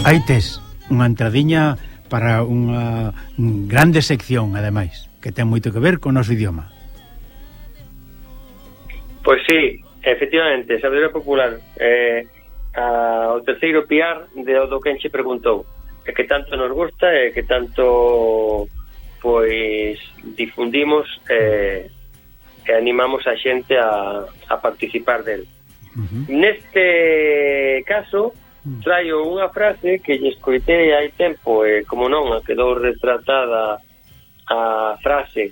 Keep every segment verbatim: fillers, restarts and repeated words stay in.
Aí tes unha entradiña para unha grande sección, ademais, que ten moito que ver con o noso idioma. Pois sí, efectivamente, sabedoria popular, eh, a, o terceiro piar de o do que enche preguntou, e que tanto nos gusta e que tanto pois difundimos e, e animamos a xente a, a participar del. Uh-huh. Neste caso traio unha frase que lle escoitei hai tempo e, como non, quedou retratada a frase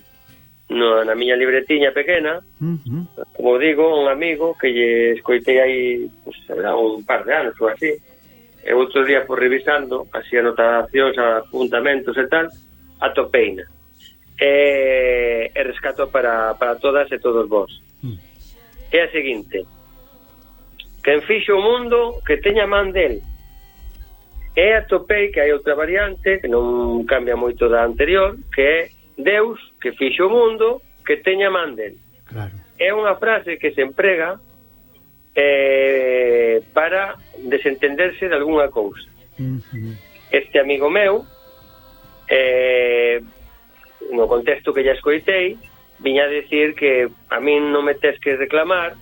no, na miña libretiña pequena. Uh-huh. Como digo, un amigo que lle escoitei hai pues, un par de anos ou así, e outro día por revisando así anotacións, apuntamentos e tal, atopeina e, e rescato para, para todas e todos vos. Uh-huh. É a seguinte: quen fixo o mundo que teña man del. E atopei que hai outra variante que non cambia moito da anterior, que é Deus que fixo o mundo que teña man del. Claro. É unha frase que se emprega eh, para desentenderse de algunha cousa. Uh-huh. Este amigo meu, eh, no contexto que ya escoitei, viña a decir que a min non me tes que reclamar,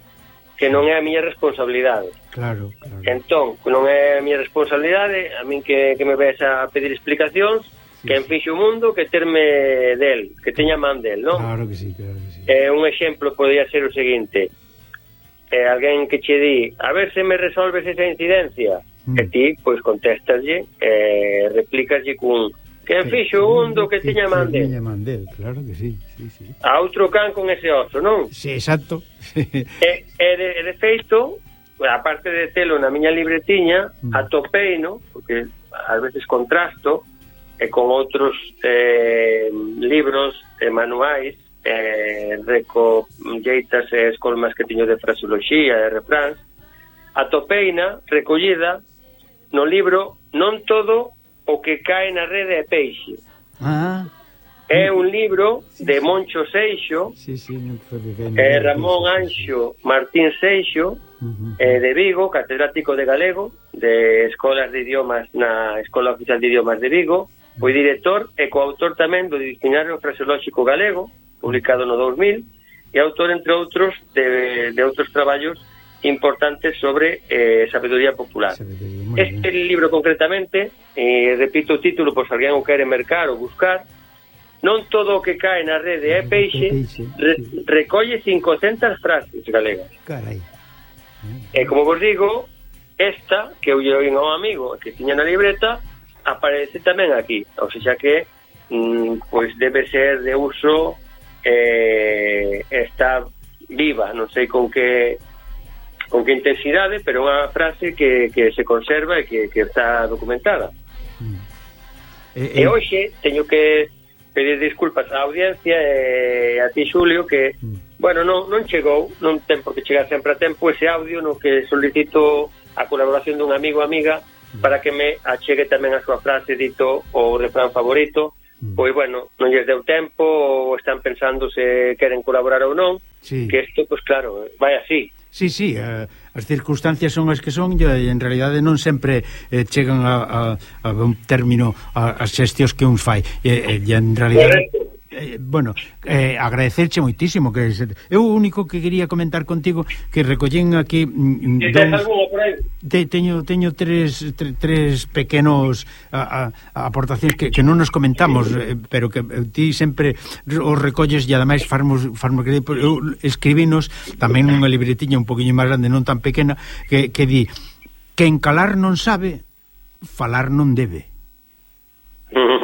que non é a miña responsabilidade. Claro, claro. Entón, non é a miña responsabilidade, a min que, que me ves a pedir explicacións, sí, quen fixo o mundo que terme del, que teña man del, non? Claro que sí, claro que sí. Eh, un exemplo podría ser o seguinte: eh, alguén que che di, a ver se me resolves esa incidencia, mm. e ti, pois, contestaslle, eh, replícaslle cun quen fixo o mundo que teña man del. Teña man del, claro que sí, sí, sí. A outro can con ese oso, non? Sí, exacto. e, e, de, e de feito, aparte de telo na miña libretiña, mm. atopei, no? Porque ás veces contrasto e con outros eh, libros e manuais, eh, recolleitas e escolmas que tiño de fraseoloxía e refráns, atopeina recollida no libro Non todo o que cae na rede é peixe. Ah. É un libro de Moncho Seixo, sí, sí, no eh, Ramón Anxo Martín Seixo, uh-huh. eh, de Vigo, catedrático de galego de escolas de idiomas na Escola Oficial de Idiomas de Vigo. Foi director e coautor tamén do Dicionario Fraseolóxico Galego, publicado no dous mil, e autor, entre outros, de, de outros traballos importantes sobre eh, sabedoría popular. Sabedoría, este bien. Libro concretamente, eh, repito o título por se alguén o quere mercar ou buscar, Non todo o que cae na rede é peixe, re, recolle cincocentas frases galegas. Carai. E como vos digo, esta que eu lle oín ao amigo que tiña na libreta aparece tamén aquí, ou seja que mm, pois debe ser de uso, eh, está viva, non sei con que con que intensidade, pero unha frase que, que se conserva e que, que está documentada. Mm. Eh, eh. E hoxe teño que pedir disculpas á audiencia e a ti, Xulio, que mm. bueno, non, non chegou, non ten por que chegar sempre a tempo ese audio no que solicito a colaboración dun amigo ou amiga mm. para que me achegue tamén a súa frase dito o refrán favorito. Mm. Pois, bueno, non lles deu tempo ou están pensando se queren colaborar ou non, sí. Que isto, pois claro, vai así. Sí, sí, uh, as circunstancias son as que son e en realidade non sempre eh, chegan a, a, a un término a, as xestións que uns fai e, e en realidade eh, bueno, eh, agradecerche moitísimo que eu o único que quería comentar contigo que recollín aquí mm, dous, te, teño, teño tres, tre, tres pequenos a, a, aportacións que, que non nos comentamos, eh, pero que eh, ti sempre os recolles e ademais farmos, farmos que eu escribinos tamén nunha libretiña un poquinho máis grande, non tan pequena, que, que di que encalar non sabe, falar non debe.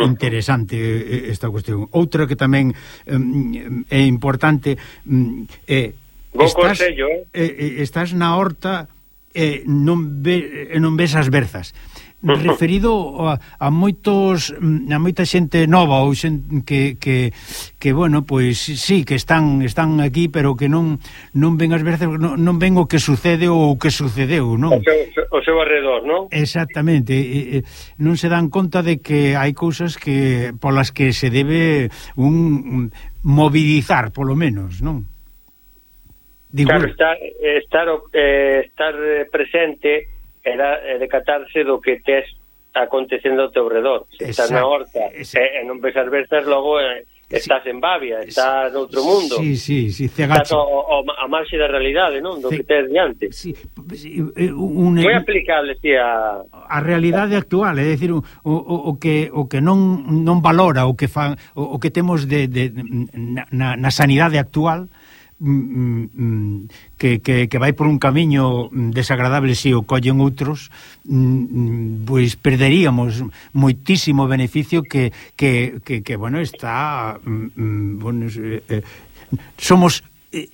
Interesante esta cuestión. Outra que tamén um, é importante um, é estás, consello, eh? Eh, estás na horta e eh, non, ve, eh, non ves as berzas. Referido a, a moitos a moita xente nova ou xente que, que, que bueno, pois sí, que están están aquí, pero que non non ven as veces, non, non ven o que sucede ou o que sucedeu, non? O seu, o seu arredor, non? Exactamente, e, e, non se dan conta de que hai cousas que polas que se debe un, un mobilizar, polo menos, non? Digo, claro, estar estar, eh, estar presente era decatarse do que tes acontecendo ao teu redor. Se estás na horta e, e non ves as verzas, logo eh, estás sí. en Bavia, estás sí. noutro mundo. Sí, sí, sí, estás o, o, a marxe da realidade, non? Do C... que tes diante. Sí, un... moi aplicable, sí, a... a realidade actual, é dicir, o, o, o que o que non non valora o que fan, o, o que temos de, de na, na sanidade actual, que, que, que vai por un camiño desagradable se o collen outros, pois perderíamos moitísimo beneficio que, que, que, que bueno, está bueno, eh, somos eh,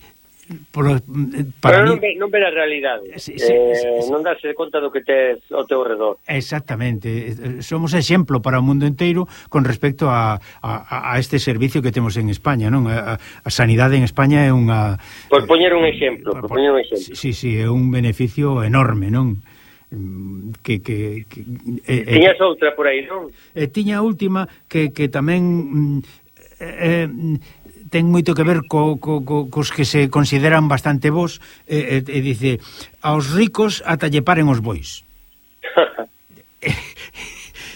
por, para pero non mí... ve, non ve a realidade, sí, sí, eh, sí, sí. non darse conta do que tes ao teu redor. Exactamente, somos exemplo para o mundo inteiro con respecto a, a, a este servicio que temos en España, non? A, a sanidade en España é unha... Por poñer un exemplo, por, por poñer un exemplo. Sí, sí, é un beneficio enorme, non? Que, que, que eh, tiñas eh, outra por aí, non? Eh, tiña a última que, que tamén eh, eh, ten moito que ver co, co, co, cos que se consideran bastante bons, e, e, e dice, aos ricos ata lle paren os bois.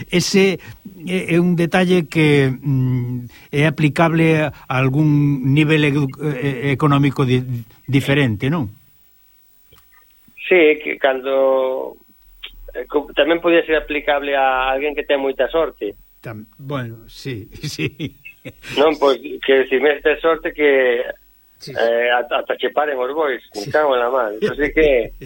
Ese é un detalle que mm, é aplicable a algún nivel económico di, diferente, non? Sí, que cando tamén podía ser aplicable a alguén que ten moita sorte. Tam, bueno, sí, sí. Non, pois, que si me tes sorte que sí. eh, ata che paren os bois, me cago en la mal. Así que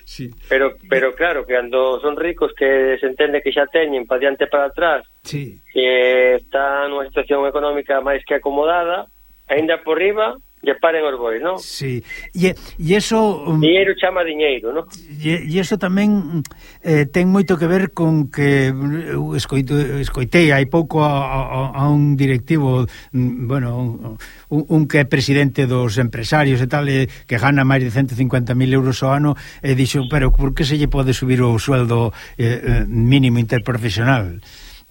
sí. pero pero claro, que cando son ricos que se entende que xa teñen pa diante para atrás, sí. que está nunha situación económica máis que acomodada, aínda por riba lle paren os bois, non? Sí, e, e eso... Um, diñeiro chama diñeiro, non? E, e eso tamén eh, ten moito que ver con que eu escoito, escoitei hai pouco a, a, a un directivo, bueno, un, un que é presidente dos empresarios e tal, e, que gana máis de ciento cincuenta mil euros ao ano, e dixo, pero por que se lle pode subir o sueldo eh, mínimo interprofesional?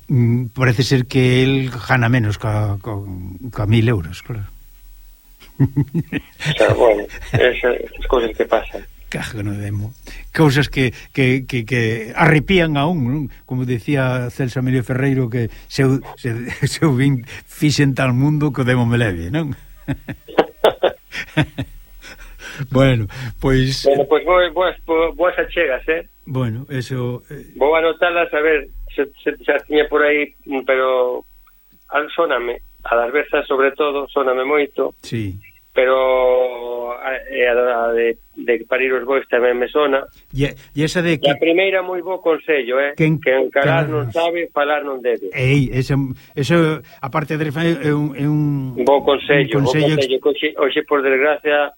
Mm, parece ser que el gana menos ca, ca, ca mil euros, claro. O sea, bueno, esas, esas cosas que pasan. Cago no demo. Cousas que, que, que, que arrepían a un, non? Como decía Celso Emilio Ferreiro, que se eu, se, se eu vin fixen tal mundo que o demo me leve, non? Bueno, pois... Bueno, pois pues, boas, boas achegas, eh? Bueno, eso... Eh... Vou anotalas, a ver, se, se, se tiña por aí, pero... Sóname, a das versas sobre todo, sóname moito. Sí. Pero a, a de, de parir os bois tamén me sona. E, e esa de que... A primeira moi bo consello, eh? Que, que encarar que... non sabe, falar non debe. Ei, eso, eso aparte de é un, é un... Bo consello, un consello, bo consello. Hoxe, hoxe, por desgracia,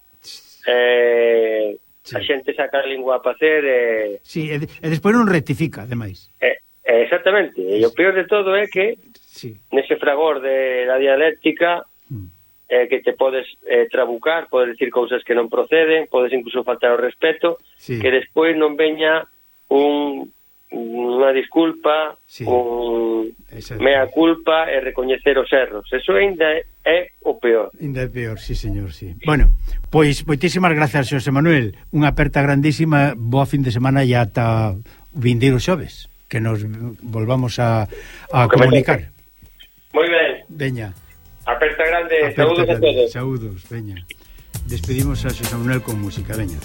eh, sí. A xente saca a lingua a facer e... Eh, sí, e, e despois non rectifica, ademais. Eh, eh, exactamente, e o peor de todo é que sí. Nese fragor de la dialéctica mm. eh, que te podes eh, trabucar, podes decir cousas que non proceden, podes incluso faltar o respeto, sí. Que despois non veña un unha disculpa, sí. Un mea culpa e recoñecer os erros. Eso ainda é, é o peor. Ainda é peor, sí, señor, sí. Bueno, pois moitísimas grazas, Xosé Manuel. Unha aperta grandísima, boa fin de semana e ata vindeiro xoves, que nos volvamos a, a comunicar. Moi ben. Veña. Aperta grande, aperta saúdos grande. a todos. Saúdos, veña. Despedimos a Xosé Manuel con música, veña.